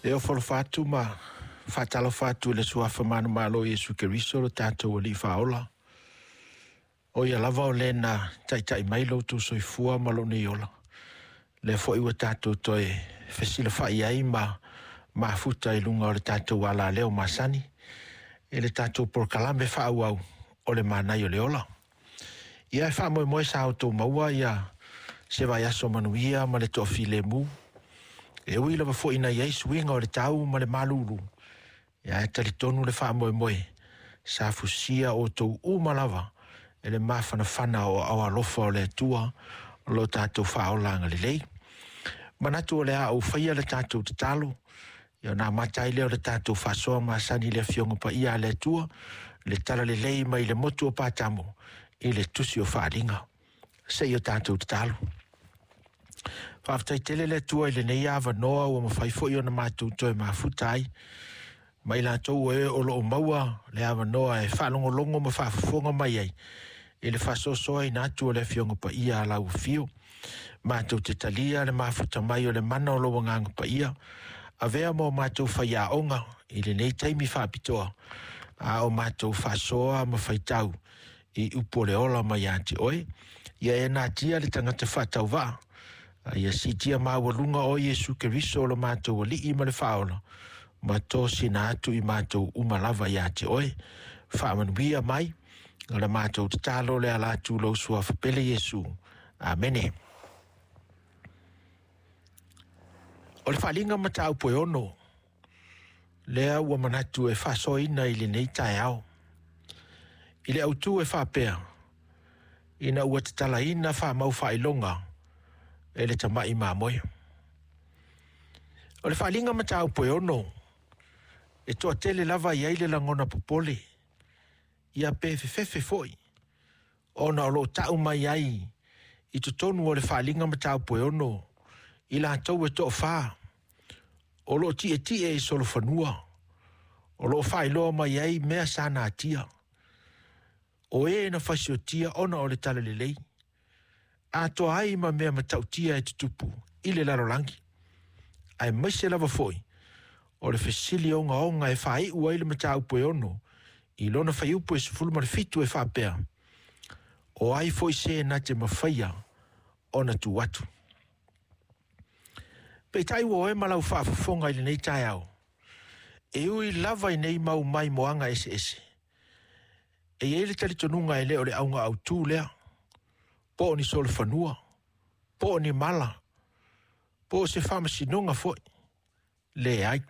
E ofo alofa atu ma faatalofa atu i le Suafa manumalo o Iesu Keriso lo tatou Alii Faaola. O ia lava o le na taitai mai lo outou soifua ma lou nei ola. Lea foi ua tatou toe fesilafai ai ma mafuta i luga o le tatou alaleo masani i le tatou polokalame faaauau o le Manaia o le Ola. Ia e faamoemoe sa outou maua ia se vaiaso manuia ma le toafilemu. E ui lava foi ina i ai suiga o le tau ma le malulu, ia ae talitonu le faamoemoe sa fusia outou uma lava e le mafanafana o aao alofa o le Atua o lo tatou faaola agalelei. Manatu o le a ou faia le tatou tatalo, ia ona amata ai lea o le tatou faasoa masani i le Afioga Paia a le Atua, le talalelei mai le motu o Patamo i le tusi o Faaaliga. Se i o tatou tatalo. Faafetai tele le Atua i lenei avanoa ua mafai foi ona matou toe mafuta ai ma i latou o e o lo o maua le avanoa e faalogologo ma faafofoga mai ai i le faasoasoaina atu o le Afioga Paia a lau Afio. Matou te talia le mafuta mai o le mana o lou Agaga Paia, avea ma o matou faiaoga i lenei taimi faapitoa, a o matou faasoa ma faitau i upu o le ola mai ia te oe. Ia e natia le tagata faatauvaa, a ia siitia maualuga oe Iesu Keriso o lo matou Alii ma le Faaola, ma tosina atu i matou uma lava ia te oe. Faamanuia mai, o le matou tatalo le ala atu lou suafa pele Iesu. Amene. O le faaaliga mataupu e 6, lea ua manatu e faasoaina i lenei taeao. I le autu e faapea, ina ua tatalaina faamau faailoga e le tamai mamoe. O le faaaliga mataupu e 6, e toatele lava i ai le lagona popole, ia pe fefefe foi, ona o lo o tau mai ai i totonu o le faaaliga mataupu e 6, i latou e toafa, o lo o tietie i solofanua, o lo o faailoa mai ai mea sa natia, o e na fasiotia ona o le talalelei, atoa ai ma mea matautia e tutupu i le lalolagi, aemaise lava foi o le fesili ogaoga e faaiu ai le mataupu e 6 i lona fuaiupu e 17 e faapea, o ai foi se na te mafaia ona tu atu. Peitai ua oe ma lau faafofoga i lenei taeao, e ui lava i nei mau maimoaga eseese, e i ai le talitonuga e le o le auga autu lea, po o ni solofanua, po o ni mala, po o se faamasinoga foi. Leai.